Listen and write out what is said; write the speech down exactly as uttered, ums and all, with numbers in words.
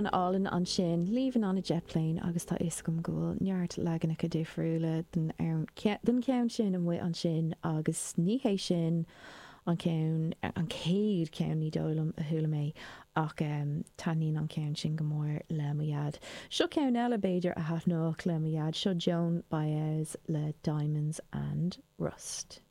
Amhrán álainn ansin, Leaving on a Jet Plane agus tá fhios agam go bhfuil neart leaganacha difriúla den den cheann sin amuigh ansin agus ní hé sin an ceann an chéad cheann ní dóigh liom a chuala mé ach um, taitníonn an ceann sin go mór le mo dhaid. Seo ceann eile b'fhéidir a thaitneodh le mo dhaid seo Joan Baez le Diamonds and Rust.